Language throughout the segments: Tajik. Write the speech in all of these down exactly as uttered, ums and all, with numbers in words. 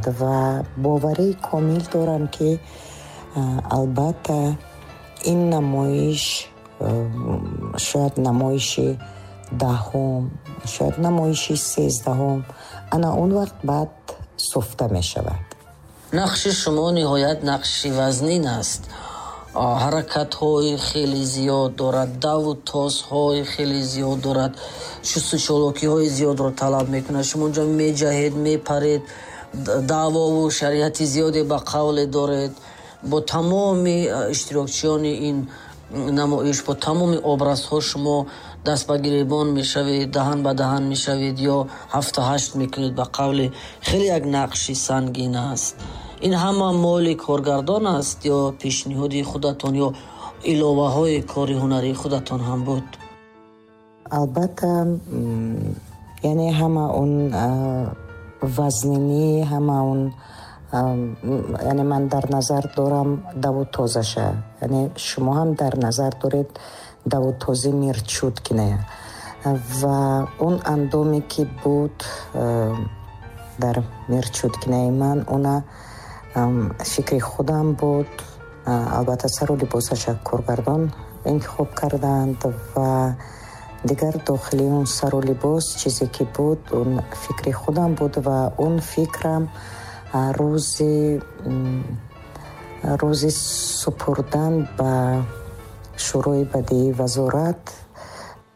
Ва боварии комил дорам, ки албатта ин намоиш шояд намоиши даҳум, шояд намоиши сездаҳум, ана он вақт баъд суфта мешавад. Нақши шумо ниҳоят нақши вазнин аст. Ҳаракатҳои хеле зиёд дорад, даву тозҳои хеле зиёд дорад, шусту чолокиҳои зиёдро талаб мекунад. Шумо онҷо меҷаҳед, мепаред, даъвову шариати зиёде ба қавле доред. Бо тамоми иштирокчиёни ин намоиш, бо тамоми образҳо шумо даст ба гиребон мешавед, даҳан ба даҳан мешавед ё ҳафту ҳашт мекунед ба қавле. Хеле як нақши сангин аст. Ин ҳама моли коргардон аст ё пешниҳоди худатон ё иловаҳои кори ҳунарии худатон ҳам буд? Албатта, яъне ҳама он вазнинӣ, ҳама он, яъне ман дар назар дорам даву тозаша, яъне шумо ҳам дар назар доред даву този Мирчуткина ва он андоме ки буд дар Мирчуткинаи ман, она фикри худам буд. Албатта, сару либосаша коргардон интихоб карданд ва дигар дохили он сару либос чизе ки буд, он фикри худам буд ва он фикрам рӯзи рӯзи супурдан ба Шӯрои бадеии вазорат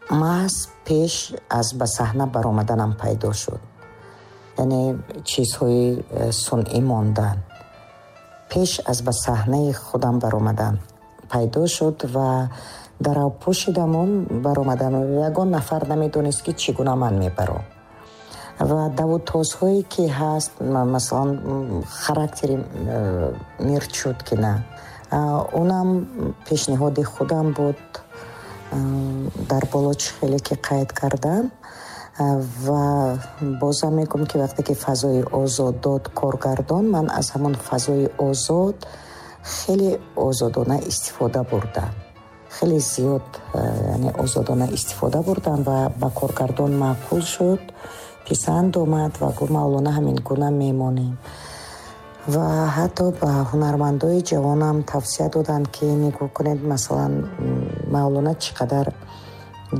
маҳз пеш аз ба саҳна баромаданам пайдо шуд. Яъне чизҳои э, сунъӣ мондан пеш аз ба саҳнаи худам баромадан пайдо шуд ва дарав пӯшидаму баромадам. Ягон нафар намедонист, ки чӣ гуна ман мебаром. Ва даву тозҳое ки ҳаст, масалан, характери э, Мирчуткина, онам пешниҳоди худам буд, дар боло чӣ хеле ки қайд кардам. Ва бозам мегӯм, ки вақте ки фазои озод дод коргардон, ман аз ҳамон фазои озод хеле озодона истифода бурдам, хеле зиёд, яъне озодона истифода бурдам ва ба коргардон маъқул шуд, писанд омад ва гуфт: «Мавлона, ҳамин гуна мемонем». Ва ҳатто ба ҳунармандои ҷавонам тавсия доданд, ки нигоҳ кунед, масалан, Мавлона чӣ қадар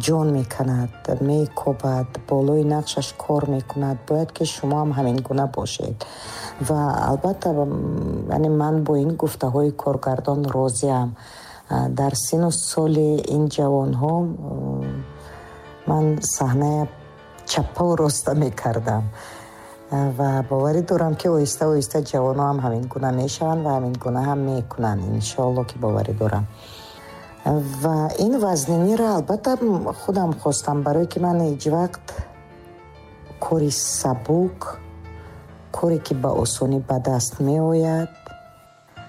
ҷон меканад, мекобад, болои нақшаш кор мекунад, бояд ки шумо ҳам ҳамин гуна бошед. Ва албатта, яъне ман бо ин гуфтаҳои коргардон розиам. Дар сину соли ин ҷавонҳо ман саҳная чаппаву роста мекардам ва боварӣ дорам, ки оҳиста оҳиста ҷавонҳо ҳам ҳамин гуна мешаванд ва ҳамин гуна ҳам мекунанд, иншоалло, ки боварӣ дорам. Ва ин вазниниро албатта худам хостам, барое ки ман ҳеҷ вақт кори сабук, коре ки ба осонӣ ба даст меояд,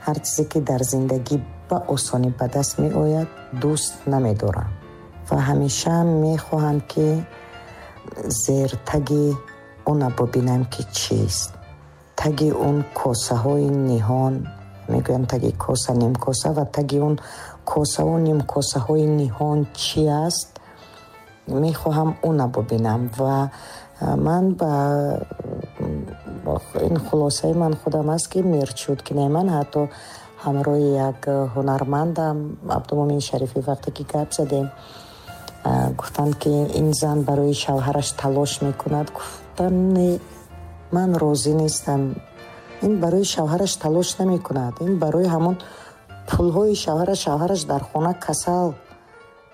ҳар чизе ки дар зиндагӣ ба осонӣ ба даст меояд, дӯст намедорам ва ҳамеша мехоҳам, ки зертаги она бубинам, ки чист, таги он косаҳои ниҳон. Мегӯянд, таги коса нимкоса, ва таги он косаву нимкосаҳои ниҳон чи аст, мехоҳам она бубинам. Ва ман ба ин хулосаи ман худам аст, ки Мирчуткинаи ман, ҳатто ҳамроҳи як ҳунармандам Абдумумин Шарифӣ вақте ки гап задем, гуфтанд, ки ин зан барои шавҳараш талош мекунад. Гуфтам: «Не, ман розӣ нестам. Ин барои шавҳараш талош намекунад, ин барои ҳамон пулҳои шавҳараш. Шавҳараш дар хона касал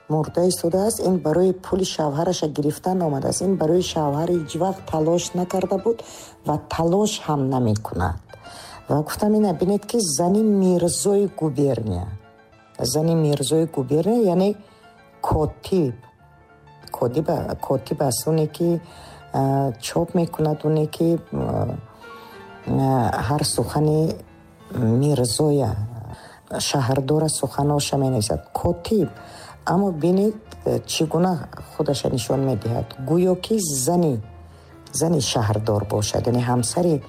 мурда истодааст, ин барои пули шавҳараша гирифтан омадааст. Ин барои шавҳар ҳеҷ вақт талош накарда буд ва талош ҳам намекунад». Ва гуфтам: «Ина бинед, ки зани мирзои губерния, зани мирзои губерния, яъне котиб котиб аст, оне ки чоп мекунад, оне ки ҳар сухани мирзоя, шаҳрдора суханоша менависад, котиб. Аммо бинед, чӣ гуна худаша нишон медиҳад, гӯё ки зани зани шаҳрдор бошад, яъне ҳамсари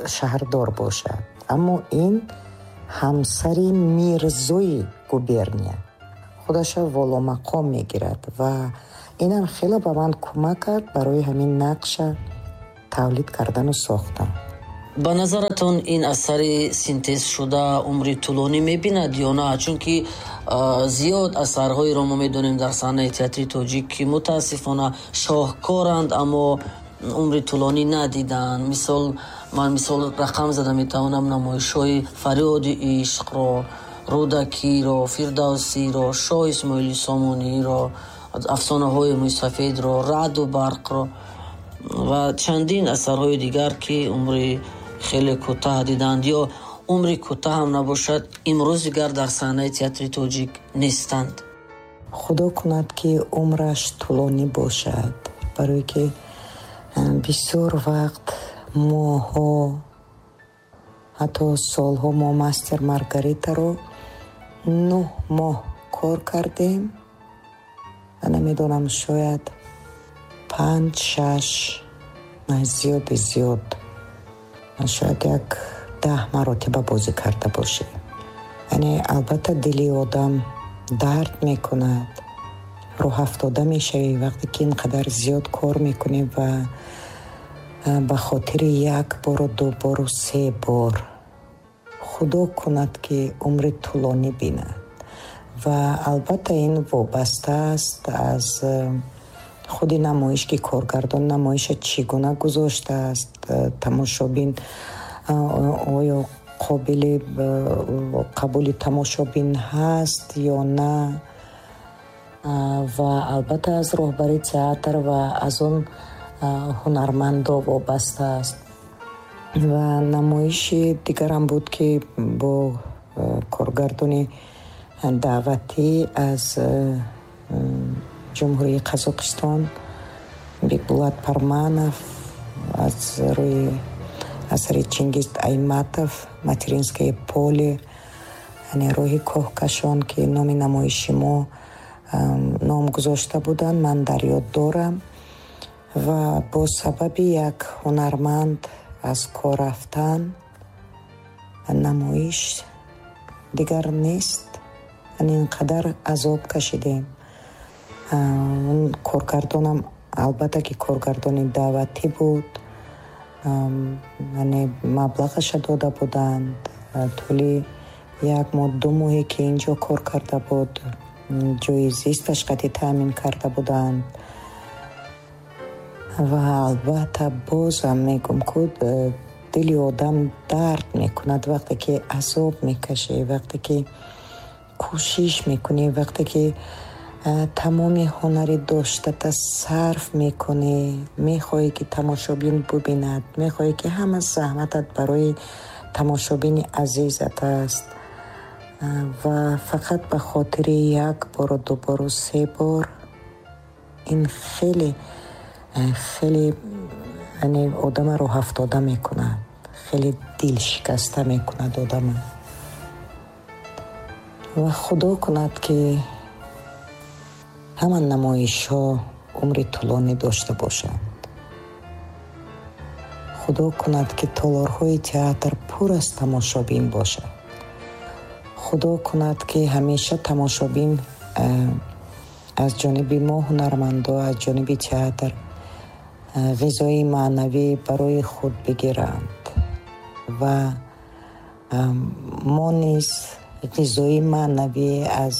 шаҳрдор бошад. Аммо ин ҳамсари мирзои губерния худаша воломақом мегирад». Ва инам хеле ба ман кӯмак кард барои ҳамин нақша тавлид кардану сохтан. Ба назаратон ин асари синтезшуда умри тӯлонӣ мебинад ё на? Чунки зиёд асарҳоеро мо медонем дар саҳнаи театри тоҷик, ки мутаассифона шоҳкоранд, аммо умри тӯлонӣ надиданд. Мисол, ман мисол рақам зада метавонам намоишҳои Фарёди ишқро, Рӯдакиро, Фирдавсиро, Шоҳ Исмоили Сомониро, Афсонаҳои мӯйсафедро, Раъду барқро ва чандин асарҳои дигар, ки умри хеле кӯтаҳ диданд ё умри кӯтаҳ ҳам набошад, имрӯз дигар дар саҳнаи театри тоҷик нестанд. Худо кунад, ки умраш тӯлонӣ бошад, барое ки бисёр вақт, моҳҳо, ҳатто солҳо мо Мастер Маргаритаро нӯҳ моҳ кор кардем ва намедонам, шояд панҷ, шаш, зиёди зиёд, шояд як даҳ маротиба бозӣ карда бошем. Яъне албатта дили одам дард мекунад, рӯҳафтода мешавӣ вақте ки ин қадар зиёд кор мекунӣ ва ба хотири як бору ду бору се бор. Худо кунад, ки умри тӯлонӣ бинад ва албатта ин вобаста аст аз худи намоиш, ки коргардон намоиша чӣ гуна гузоштааст, тамошобин оё қобили қабули тамошобин ҳаст ё на, ва албатта аз роҳбари театр ва аз он ҳунармандо вобаста аст. Ва намоиши дигарам буд, ки бо коргардони даъватӣ аз Ҷумҳурии Қазоқистон Бекбулат Парманов аз рӯи асари Чингиз Айтматов «Материнское поле», яъне роҳи кӯҳкашон, ки номи намоиши мо ном гузошта буданд, ман дар ёд дорам. Ва бо сабаби як ҳунарманд аз кор рафтан намоиш дигар нест. Яъне ин қадар азоб кашидем. Коргардонам албатта ки коргардони даъватӣ буд, яъне маблағаша дода буданд. Тӯли як моҳ, ду моҳе ки инҷо кор карда буд, ҷои зисташ қатъи таъмин карда буданд. Ва албатта бозам мегӯм, ку дили одам дард мекунад вақте ки азоб мекашӣ, вақте ки кӯшиш мекунӣ, вақте ки тамоми ҳунари доштата сарф мекунӣ, мехоҳӣ, ки тамошобин бубинад, мехоҳӣ, ки ҳама заҳматат барои тамошобини азизат аст ва фақат ба хотири як бору ду бору се бор ин хеле хеле яъне одама рӯҳафтода мекунад, хеле дилшикаста мекунад одама. Ва худо кунад, ки ҳама намоишҳо умри тӯлонӣ дошта бошанд. Худо кунад, ки толорҳои театр пур аз тамошобин бошад. Худо кунад, ки ҳамеша тамошобин аз ҷониби мо ҳунармандо, аз ҷониби театр ғизои маънавӣ барои худ бигиранд ва мо низ ғизои маънавӣ аз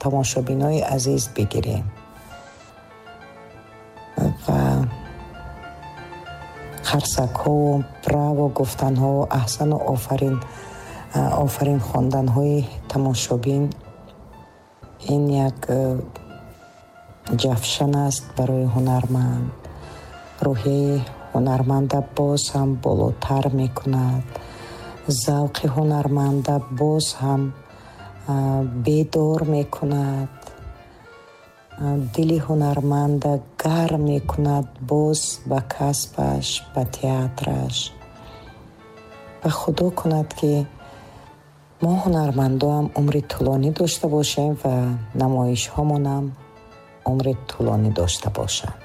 тамошобинои азиз бигирем ва қарсакҳову браво гуфтанҳову аҳсану офарин офарин хонданҳои тамошобин ин як ҷавшан аст барои ҳунарманд. Рӯҳияи ҳунарманда боз ҳам болотар мекунад, завқи ҳунарманда боз ҳам бедор мекунад, дили ҳунарманда гарм мекунад боз ба касбаш, ба театраш. Ва худо кунад, ки мо ҳунармандоам умри тӯлонӣ дошта бошем ва намоишҳомонам умри тӯлонӣ дошта бошанд.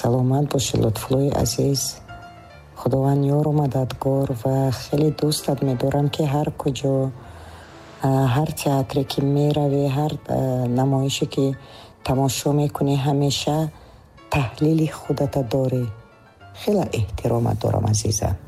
Саломат бошед, Лутфуллои азиз. Худованд ёру мададгор ва хеле дӯстат медорам, ки ҳар куҷо, ҳар театре ки меравӣ, ҳар намоише ки тамошо мекунӣ, ҳамеша таҳлили худата дорӣ. Хеле эҳтиромат дорам, азизам.